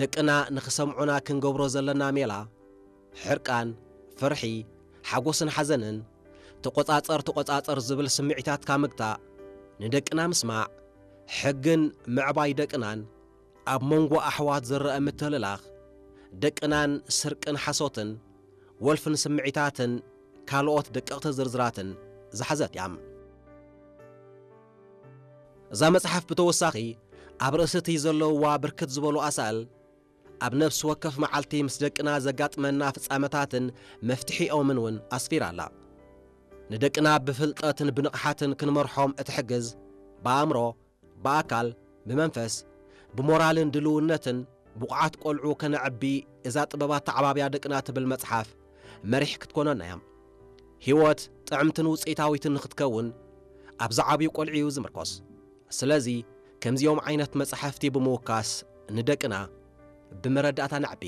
ደቅና ንኽሰምዑና ክንገብሮ ዘለና ሜላ፣ ሕርቃን፣ ፍርሒ፣ ሓጎስን ሓዘንን፣ ተቖጻጸር ተቖጻጸር ዝብል ስምዒታትካ ምግታእ፣ ንደቅና ምስማዕ፣ ሕግን ምዕባይ ደቅናን፣ ኣብ መንጎ ኣሕዋት ዝረአ ምትልላኽ፣ ደቅናን ስርቅን ሓሶትን፣ ወልፍን ስምዒታትን ካልኦት ደቀቕቲ ዝርዝራትን ዝሓዘት እያ። እዛ መጽሓፍ ብተወሳኺ ኣብ ርእሲ እቲ ዘለውዋ ብርክት ዝበሉ ኣሳእል ኣብ ነፍሲ ወከፍ መዓልቲ ምስ ደቅና ዘጋጥመና ፍጻመታትን መፍትሒኦምን እውን ኣስፊራ ኣላ። ንደቅና ብፍልጠትን ብንቕሓትን ክንመርሖም እትሕግዝ፣ ብኣእምሮ፣ ብኣካል፣ ብመንፈስ፣ ብሞራልን ድልውነትን ብቑዓት ቆልዑ ከነዕቢ እዛ ጥበባት ተዓባብያ ደቅና ትብል መጽሓፍ መሪሕ ክትኮነና እያ። ህይወት ጥዕምትን ውጽኢታዊትን ንኽትከውን ኣብ ዝዓብዩ ቆልዑ እዩ ዝምርኮስ። ስለዚ ከምዚኦም ዓይነት መጻሕፍቲ ብምውካስ ንደቅና ብመረዳእታ ነዕቢ።